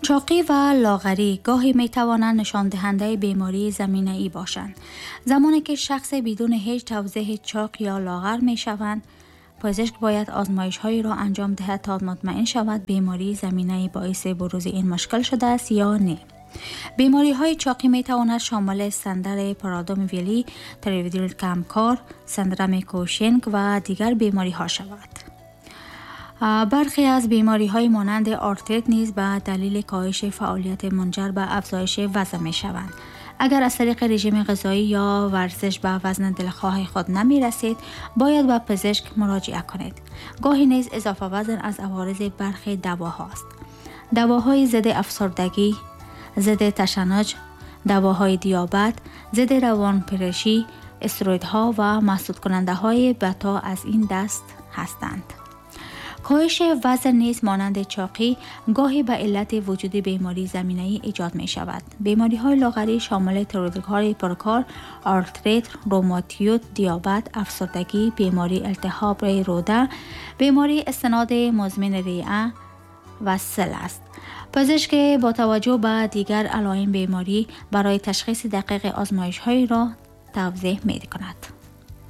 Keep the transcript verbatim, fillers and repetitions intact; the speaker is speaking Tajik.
Чоқӣ ва лоғарӣ гоҳе метавонанд нишондиҳандаи бемории заминаӣ бошанд. Замоне ки шахсе бидуни ҳеҷ тавзеҳи чоқ ё лоғар мешаванд, пизишк бояд озмоишҳоеро анҷом диҳад то мутмаин шавад бемории заминаӣ боиси бурузи ин мушкил шудааст ё не. Бемориҳои чоқӣ метавонад шомили синдроми Прадер-Вилли, тиреоидит камкор, синдроми Кушинг ва дигар бемориҳо шавад. Бархе аз бемориҳои монанди артрит низ ба далели коҳиши фаъолият мунҷар ба афзоиши вазн мешаванд. Агар аз тариқи режими ғизоӣ ё варзиш ба вазни дилхоҳи худ намерасед, бояд ба пизишк муроҷиа кунед. Гоҳе низ изофа вазн аз аворизи бархе давоҳост. Давоҳои зидди афсурдагӣ, зидди ташаннуҷ, давоҳои диабет, зидди равонпарешӣ, стероидҳо ва маҳсудкунандаҳои бета аз ин даст ҳастанд. Коҳиши вазн низ монанди чоқӣ гоҳе ба иллати вуҷуди бемории заминаӣ эҷод мешавад. Бемориҳои лоғарӣ шомили тиреоидҳои пуркор, артрит, ревматоид, диабет, афсурдагӣ, бемории илтиҳоби рӯда, бемории истиноди музмини риа ва сил аст. Пизишк бо таваҷҷӯҳ ба дигар алоим беморӣ барои ташхиси дақиқи озмоишҳоеро тавзеҳ мекунад.